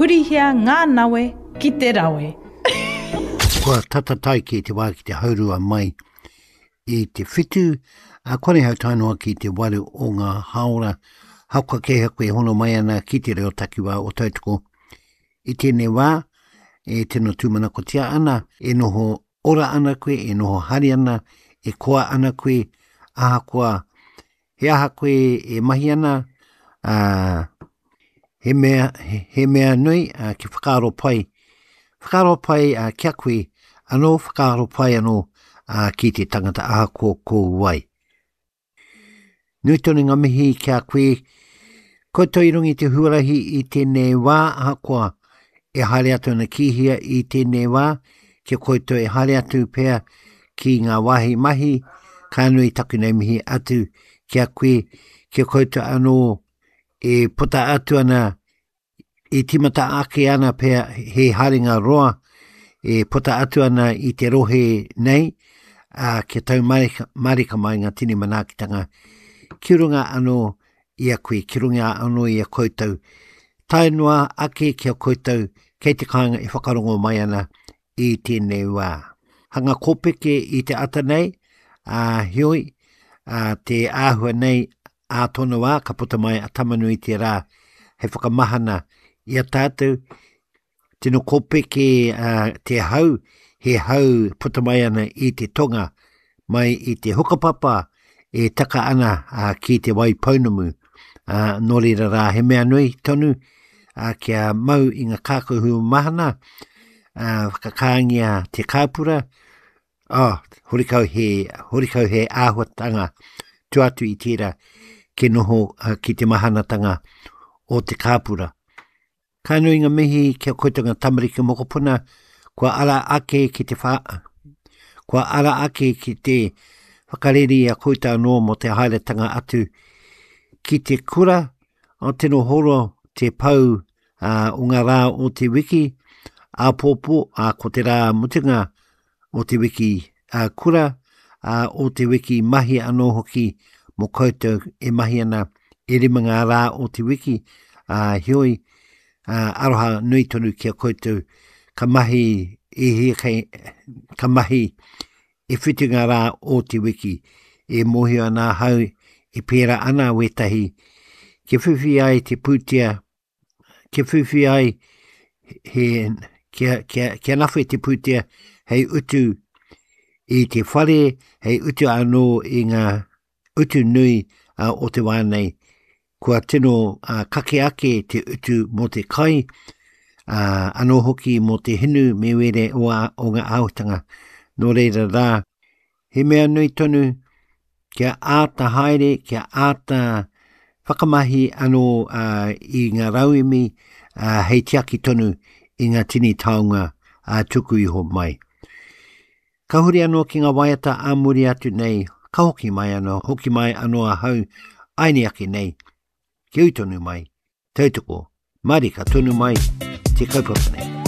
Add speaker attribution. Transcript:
Speaker 1: Hurihia ngā nawe ki te rawe.
Speaker 2: Kua tata tae ki te wā ki te haurua mai i te whitu, a kore hau tae noa ki te waru o ngā hāora. Hakoa kē koe e hono mai ana ki te reo takiwā o Tautoko. I tēnei wā, e tino tūmanakotia ana, e noho ora ana koe, e noho hari ana, e koa ana koe, ahakoa he aha koe e mahi ana, ā, he mea, he, he mea nui ā, ki whakaaro pai, whakaaro pai ā, ki a koe, anō whakaaro pai anō ā, ki te tangata ahakoa ko wai. Nui tonu ngā mihi ki a koe. Koutou i runga i te huarahi i tēnei wā, ahakoa e haere atu ana ki hea i tēnei wā, ki a koutou e haere atu pea ki ngā wāhi mahi, ka nui taku nei mihi atu ki a koe, ki a koutou anō e puta atu ana i tīmata ake ana pea he haerenga roa e puta atu ana i te rohe nei, ā, kia tau marika, marika mai ngā tini manaakitanga ki runga anō i a koe, ki runga anō i a koutou. Tae noa ake ki a koutou kei te kāinga e whakarongo mai ana i tēnei wā. Hanga kōpeke i te ata nei, ā, heoi, ā, te āhua nei ā tōna wā ka puta mai a Tamanui te rā hei whakamahana i a tātou. Tino kōpeke uh, te hau, he hau puta mai ana i te tonga, mai i te hukapapa e taka ana uh, ki te wai pounamu. Uh, nō reira rā, he mea nui tonu uh, kia mau i ngā kākahu mahana, uh, whakakāngia te kāpura, Oh, horikau he, horikau he āhuatanga tua atu i tērā ke noho uh, ki te mahanatanga o te kāpura. Ka nui ngā mihi ki a koutou ngā tamariki mokopuna, kua ara ake ki te wha, kua ara ake ki te whakareri a koutou anō mō te haeretanga atu ki te kura, o tino horo te pau uh, o ngā rā o te wiki, āpōpō, ā, ko te rā mutunga o te wiki uh, kura, uh, o te wiki mahi anō hoki mō koutou e mahi ana e rima ngā rā o te wiki, uh, heoi, uh, aroha nui tonu ki a koutou, ka mahi e hia kei, ka mahi e whitu ngā rā o te wiki, e mōhio ana ahau e pērā ana wētahi, kia whiwhi ai te pūtea kia whiwhi ai he, kia, kia, kia nawhe te pūtea hei utu i te whare, hei utu anō i ngā utu nui uh, o te wā nei. Kua tino uh, kake ake te utu mō te kai, uh, anō hoki mō te hinu me were o, a, o ngā āhuatanga. Nō reira rā, he mea nui tonu kia āta haere, kia āta whakamahi anō uh, i ngā rauemi uh, hei tiaki tonu i ngā tini taonga uh, tuku iho mai. Ka huri anō ki ngā waiata ā muri atu nei, ka hoki mai anō, hoki mai anō ahau, aini ake nei, kia ū tonu mai, tautoko, marika tonu mai te kaupapa nei.